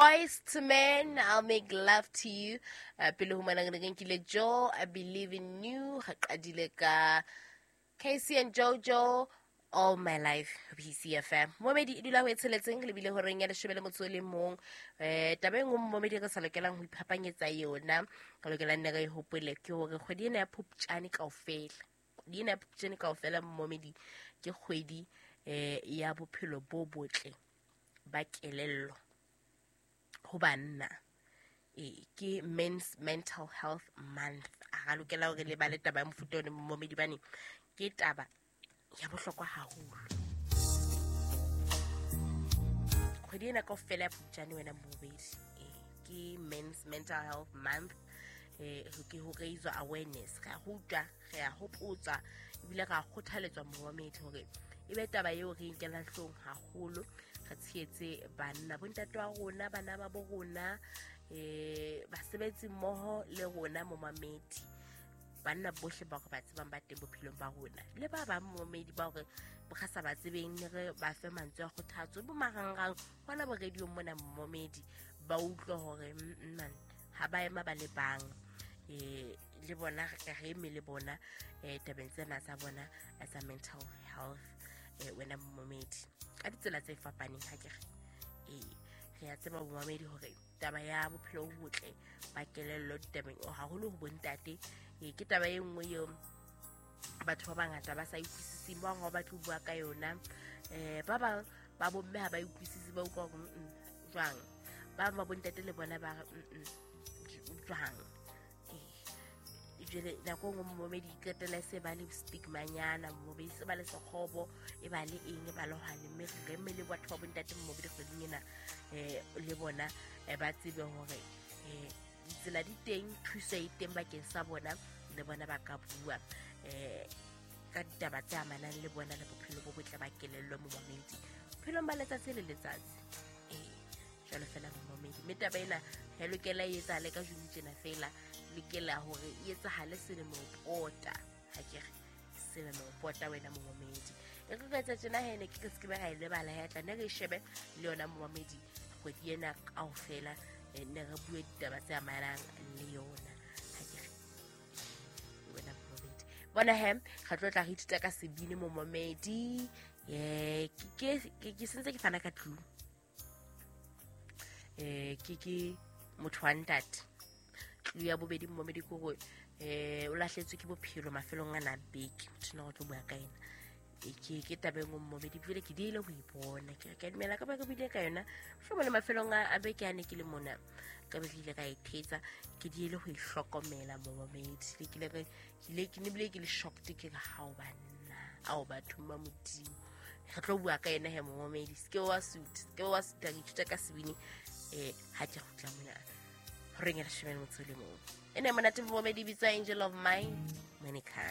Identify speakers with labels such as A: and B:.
A: Boys to Men, I'll Make Love to You. Pele ho mona re ne re nkile Joe, I Believe in You. Re qadile ka Casey and Jojo, All My Life, BCFM. Momedi e dula ho e tsheletseng le bile horeng ya 11. Taba e nngwe momedi re sa lokelang ho iphapanyetsa yona, re lokelang ne re e hopole ke hore kgwedi ena ya Phupjane kaofela. Kgwedi ena ya Phupjane kaofela momedi ke kgwedi ya bophelo bo botle ba kelello ho banna. Ke Men's Mental Health Month. A ga lokela hore le bale taba ya mofuta one momedi bane ke taba ya bohlokwa haholo. Kgwedi ena kaofela ya Phupjane wena momedi ke Men's Mental Health Month. Ke ho raise awareness, re a rutwa, re a hopotswa ebile re a kgothaletswa momedi hore e be taba eo re nkelang hloohong haholo, re tshehetse banna, bontate wa rona, bana ba bo rona, basebetsi mmoho le rona momamedi, banna bohle ba re ba tsebang ba teng bophelong ba rona le ba bang momamedi ba hore re sa ba tsebeng, ne re ba fe mantswe a kgothatso bo marangrang hona bo radio mona momamedi ba utlwe hore man ha ba ema ba le bang, le bona re eme le bona tabeng tsena tsa bona tsa mental health, wena momamedi ka ditsela tse fapaneng. Ha ke re re a tseba momamedi hore taba ya bophelo bo botle ba kelello ditabeng haholo ho bontate, ke taba e nngwe eo batho ba bangata ba sa utlwisiseng, ba bang ha ba batle ho bua ka yona, ba bang ba bomme ha ba utlwisise, ba utlwa hore jwang, ba bang ba bontate le bona ba re jwang. Jwale nako e nngwe momedi qetella e se ba le stigmanyana, momedi se ba le sekgobo, e ba le eng, e ba le hwane, mme re mme le batho ba bontate momedi kgweding ena le bona ba tsebe hore ditsela di teng, thuso e teng bakeng sa bona, le bona ba ka bua ka ditaba tse amanang le bona le bophelo bo botle ba kelello momamedi bophelong ba letsatsi le letsatsi. Jwalo fela momamedi, mme taba ena ha e lokela e etsahale ka June tjena fela, lokela hore e etsahale selemo pota. Ha ke re selemo pota wena momamedi, e re ka etsa tjena he ne ke se ke ba ra e lebala ya tla ne re shebe le yona momamedi kgwedi ena kaofela, ne re bue ditaba tse amanang le yona. Ha ke re wena momamedi bona he re tlo tla re ithuta ka sebini momamedi. Ke sentse ke fana ka clue. Ke motho wa ntate. Clue ya bobedi momamedi ke hore o lahletswe ke bophelo mafelong ana a beke, motho ena o tlo bua ka ena. Ke taba e nngwe momamedi ebile ke diile ho e bona, ke re ke a dumela ka ba ke buile ka yona mohlomong le mafelong a beke a ne ke le mona, ka be ke ile ka e thetsa, ke diile ho e hlokomela momamedi. Le ke ile ke ne bile ke le shocked, ke re hao banna, ao batho ba Modimo. Re tlo bua ka ena he momamedi, se ke wa suit, se ke wa suit, re ithuta ka sebini ha ke kgutla mona horeng ya 11. E ne monate momamedi, bitswa Angel of Mine, Monica.